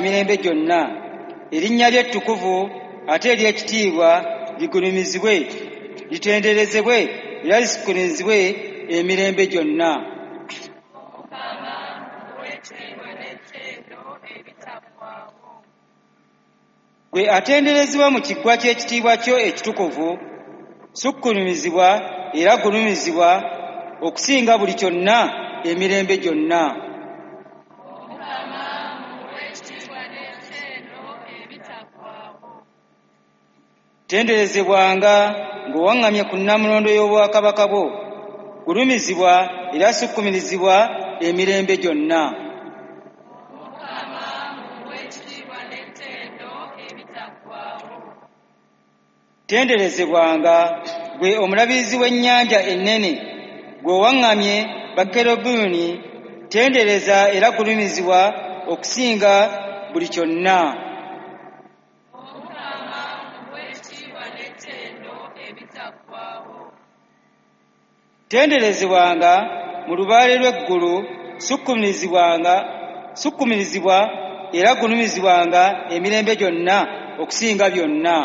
Emirembe gyonna, erinnya lyo ettukuvu ate ery'ekitiibwa ligulumizibwe, litenderezebwe era lisukkulumizibwe emirembe gyonna. Omukama muwe ekitiibwa n'ettendo ebitaggwaawo. Ggwe atenderezebwa mu kiggwa ky'ekitiibwa kyo ekitukuvu, sukkulumizibwa era gulumizibwa okusinga buli kyonna emirembe gyonna. Omukama muwe ekitiibwa n'ettendo ebitaggwaawo. Tenderezebwanga ng'owaŋŋamye ku Nnamulondo y'Obwakabaka bwo, gulumizibwa era sukkulumizibwa emirembe gyonna. Omukama muwe ekitiibwa n'ettendo ebitaggwaawo. Tenderezebwanga ggwe omulabirizi w'ennyanja ennene, ggwe owaŋŋamye Bakerubimu, tendereza era gulumizibwa okusinga buli kyonna. Omukama muwe ekitiibwa n'ettendo ebitaggwaawo. Tenderezebwanga mu lubaale lw'eggulu, sukkulumizibwa era gulumizibwanga emirembe gyonna okusinga byonna.